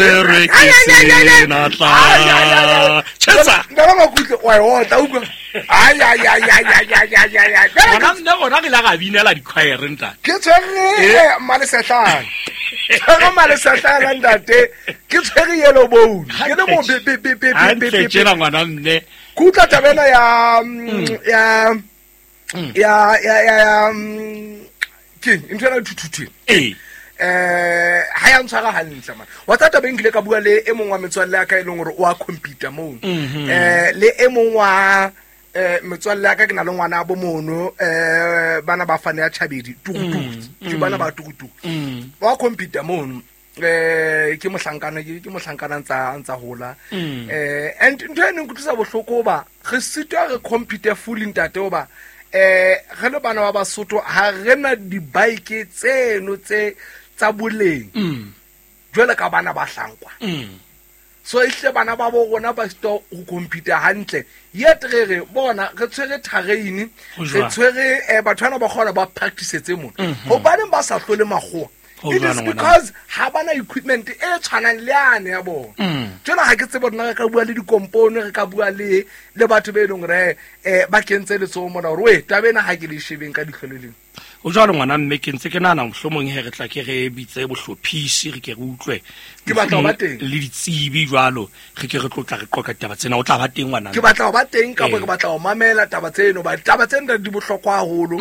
Re ke senatla. Tjhetsa. Nna makutle wa e otla utlwa. Ai ai ai ai ai ai ai ai ai. Gona nne gona re ile ra binela dikhwaere ntate. Ke tshwere malesehlana. Tshwere malesehlana ntate. Ke tshwere yellow bone. Ke le mo be be be be be Hantle tjena ngwana mme. Ke utlwa taba ena ya ya ya ya ya ya ke ntho ena thuthuthwe. Ee. Ha ya ntshwara hantle man. Wa tsa taba e nkile ka bua le e mong wa metswalle ya ka e leng hore o a computer mono. Le e mong wa metswalle ya ka ke na le ngwana bo mono bana ba fane ya Chabedi tukutuku. Ke bana ba tukutuku. Wa computer mono. Ke mohlankana ke mohlankana ntsa hola. And ntho e neng kutlwisa bohloko ba re sitwa re computer full ntate oba re le bana ba Basotho ha re na di-bike tseno tse tsa boleng jwale ka bana ba hlankwa. So ehle bana ba bo rona ba sitwa ho computer hantle. Yet re re bona re tshwere terrain, re tshwere batho bana ba kgona ba practice tse mona. Hobaneng ba sa hlole makgowa? It is because ha bana equipment e tshwanang le yane ya bona. Jwale ha ke tsebe rona re ka bua le dikompone, re ka bua le batho be leng hore ba kentse letsoho mona hore we taba ena ha ke le shebeng ka dihlolo leng. O jwalo ngwana mme ke ntse ke nahana mohlomong he re tla ke re bitse bohlophisi re ke re utlwe. Ke batla ho ba teng. Le ditsebi jwalo re ke re tlotla re qoqa taba tsena o tla ba teng ngwana. Ke batla ho ba teng kapa ke batla ho mamela taba tseno ba taba tsena di bohlokwa haholo.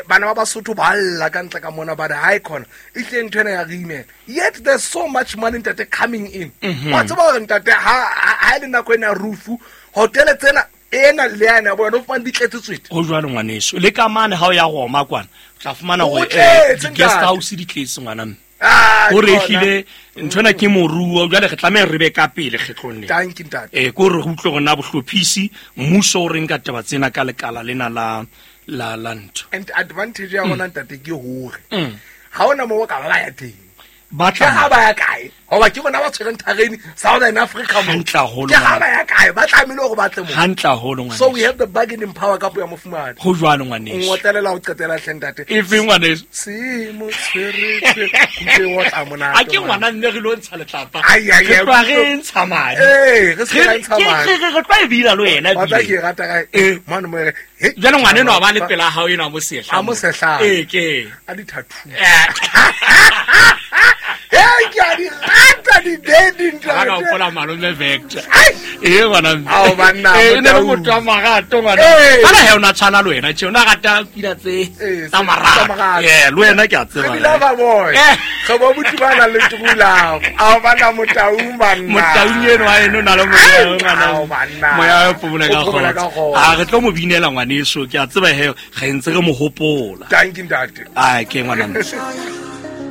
Bana ba Basotho ba lla ka ntle ka mona ba re ha e khona e tle ntho ena ya re imela. Yet there's so much money ntate coming in. Wa tseba hore ntate ha e le nako ena rufu hotele tsena ena le yana bona o fumane di tletse tswete. Ho jwalo ngwaneso le ka mane ha o ya Roma kwana o tla fumana hore di-guest house di tletse ngwana mme. O re ehlile nthwena ke moruo jwale re tlameha re be ka pele kgetlong le. Thank you ntate. Ke hore re utlwe hore na bohlophisi mmuso o reng ka taba tsena ka lekala lena la la la ntho. And advantage ya rona ntate ke hore ha ona moo o ka ba ya teng. Ba tla Ke ha ba ya kae? Hoba ke bona ba tshwereng terrain Southern Africa mo. Hantle haholo Ke ha ngwana. ba ya kae? Ba tlamehile hore ba tle mo. Hantle haholo ngwaneso. So we have the bargaining power ka puo ya mofumahadi. Ho jwalo ngwaneso. Ngotlelela ho qetela hle ntate. E feng ngwaneso? Se mo tshwere tshwere. Kutlwe o tla monate A ke ngwana. ngwana nne re lo ntsha letlapa. Ai, ai, Re ai, tloha re ntsha madi. Ee, re se ra ntsha madi. Re tloha e bina le wena Wa tla ebile. ke e rata kae? Mane mo e re, he. Jwale ngwana enwa ba le pela hao enwa mo sehla. A mo sehla. Ee, ke. A di-tattoo. Hey, ke a di rata di-daddy ntate. Ha ka hopola malome Vector. Ai! Ee, ngwana mme. Ao, banna, Ee, e ne le Motaung. motho wa marato, ngwana. Ee. Kana he o na tshwana le wena tje, o na rata pina tse Ee, tsa tsa marato. marato. Ee, le wena ke a tseba. Re bile ba boy. Re bo buti ba nang le true love. Ao, banna, Motaung, banna. Motaung eno wa eno o na le moya, Ai, ngwana. ao, banna. Moya o phomola ka O phomola ka kgotso. kgotso. A re tlo mo binela ngwaneso, ke a tseba he re ntse re mo hopola. Thank you, ntate. Ai, ke ngwana mme.